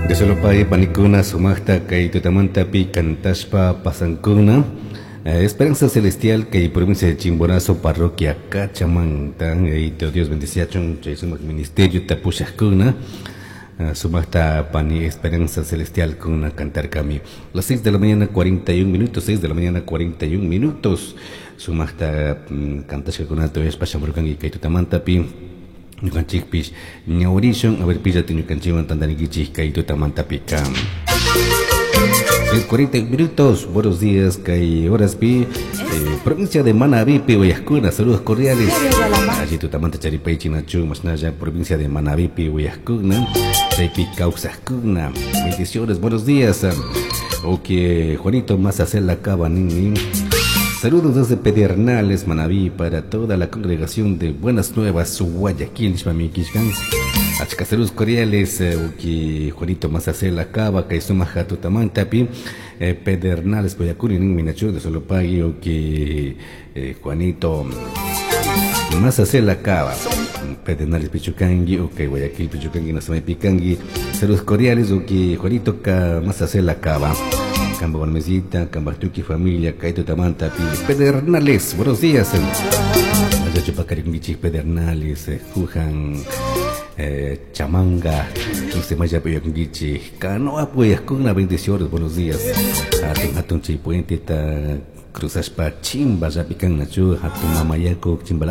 Diosolopai panikuna sumaqta kay tutamantapi cantashpa pasankuna. Esperanza Celestial kay provincia de Chimborazo, parroquia Cachamanta. Dios bendiciachun chay sumaq ministerio tapushaqkuna. Sumaqta pani Esperanza Celestial kuna cantarkami. Las 6 de la mañana 41 minutos, 6 de la mañana 41 minutos. Sumaqta cantashkakunata uyashpa shamurkanki kay tutamantapi. Ñukanchikpish ñawrishun, a ver pillati ñukanchikwan tantanikichik kay tutamantapika. 6:40 minutos, buenos días, kay horaspi, provincia de Manabí, uyajkuna, saludos cordiales. Allí tutamanta charipay chinachu, mashnalla, provincia de Manabí, uyajkuna, chaypi kawsajkuna, bendiciones, buenos días. Ok, Juanito más hacer la cava, nin. Saludos desde Pedernales, Manabí, para toda la congregación de Buenas Nuevas, Guayaquil, Xmamiquixcan. Achka saludos cordiales, uki Juanito Masacel la cava, Kaisuma Jatutamantapi, Pedernales, Guayaquil, nin Minachu, de Solopagui, uki Juanito Masacel la cava. Pedernales Pichucangui, ok, Guayaquil Pichucangui, Nasamay Picangui. Saludos cordiales, uki Juanito Masacel la cava. Camba Balmesita, Camba Tuki familia, Kaito Tamanta, Pedernales, buenos días. Chupacaringuichi, Pedernales, Jujan, Chamanga, Maya Puyanguichi, Canoa Puyascuna, bendiciones, buenos días. Atun Hatun Chipuente, Cruzaspa, Chimba, Yapican, Nachu, Hatun Mamayaco, Chimba.